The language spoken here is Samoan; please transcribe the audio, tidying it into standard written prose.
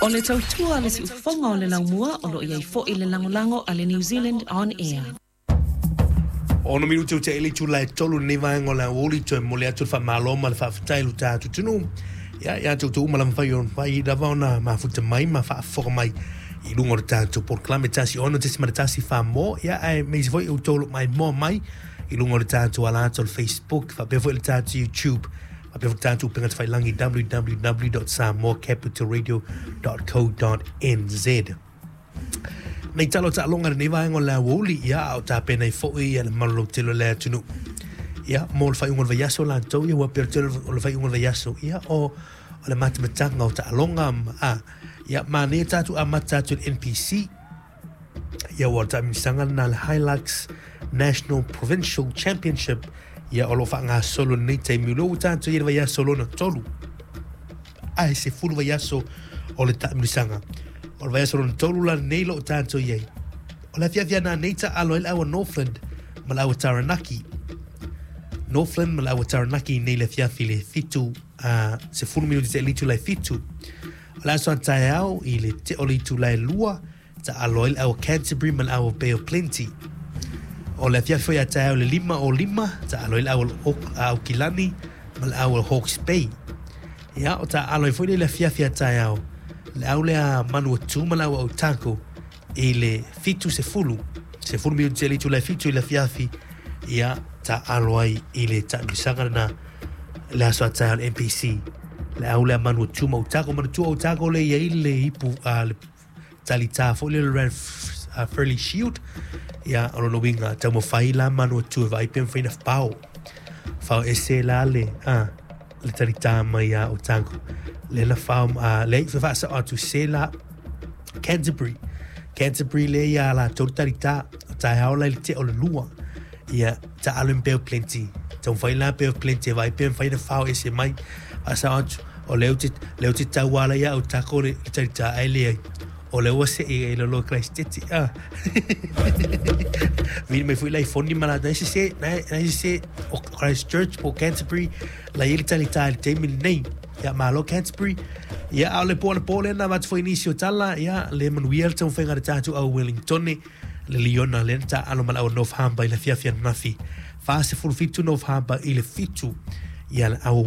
O le tautua a le siufofoga o le laumua o lo o i ai foi le lagolago a le New Zealand On Air. 6 minute o te ili tula e tolu lenei vaega o le aoauli toe momoli atu le faamalo ma le faafetai i lo tatou atunuu ia ia te outou uma lava mafai ona mafai lava ona mafuta mai ma faafofoga mai i luga o le tatou polokalame 16.1 mo ia aemaise foi outou o lo o maimoa mai i luga o le tatou ala atu o le Facebook faapea foi le tatou YouTube faapea foi le tatou upega tafailagi www.samoacapitalradio.co.nz. Nei tala o taaloga i lenei vaega o le aoauli, ia, a o tapena ai foi ia le mamalu lautele o le atunuu. Ia, mo le faaiuga o le vaiaso latou, ia ua pei o le tele o le faaiuga o le vaiaso, ia, o, o le matamataga o taaloga, a, ia, manaia tatou amata atu i le NPC, ia ua o le taamilosaga lena a le Hilux National Provincial Championship, ia, o lo o faagasolo i lenei taimi, o lea ua tatou i ai i le vaiaso lona tolu. Ae 10 vaiaso o le taamilosaga. O le vaiaso lona tolu la lenei lo o tatou i ai. O le afiafi ananei taalo ai le aua Northland ma le aua Taranaki. Northland ma le aua Taranaki nei le afiafi le 7 a 10 minuti te itula e 7. O le aso a taeao i le te o le itula e 2 taalo ai le aua Canterbury ma le aua Bay of Plenty. O le afiafi foi a taeao i le 5 o 5 taalo ai le aua Aukilani ma le aua Hawke's Bay. Ia, o taalo ai foi lea i le afiafi a taeao le au lea Manuatu ma le aua Otago i le 70, 10 minuti te le itula e 7 i le afiafi, ia, taalo ai i le taamilosaga lena le aso a taeao le NPC. Le au lea Manuatu ma Otago, Manuatu Otago le i ai le ipu, a, le talitā foi lea o le Rad Fairley Shield, ia, o lona uiga, taumafai la Manuatu e vaai pe mafai ona fao. Fao ese la le, a, le talitā mai a Otago. Lea na fao, a, leai, faasao atu se la Canterbury. Canterbury lea ia latou le talitā, o taeao la i le tea o le lua. Ia, taalo i Bay of Plenty. Taumafai la Bay of Plenty e vaai pe mafai ona fao ese mai. Faasao atu, o lea ou te, lea ou te tauala ia Otago le, le talitā ae leai. O lea ua see i lalo o Christchurch. Ah. Vili mai foi la i foni ma latou, nai sese, nai, nai sese o Christchurch po Canterbury, la i ai le talitā i le taimi lenei. Ia, malo Canterbury. Ia, a o le po anapo lea na avatu foi nisi o tala, ia, le manuia le taumafaiga a le tatou au Wellingtone, le Liona lea na taaalo ma le au North Harbour i le afiafi ananafi. 47 North Harbour i le 7 ia le au.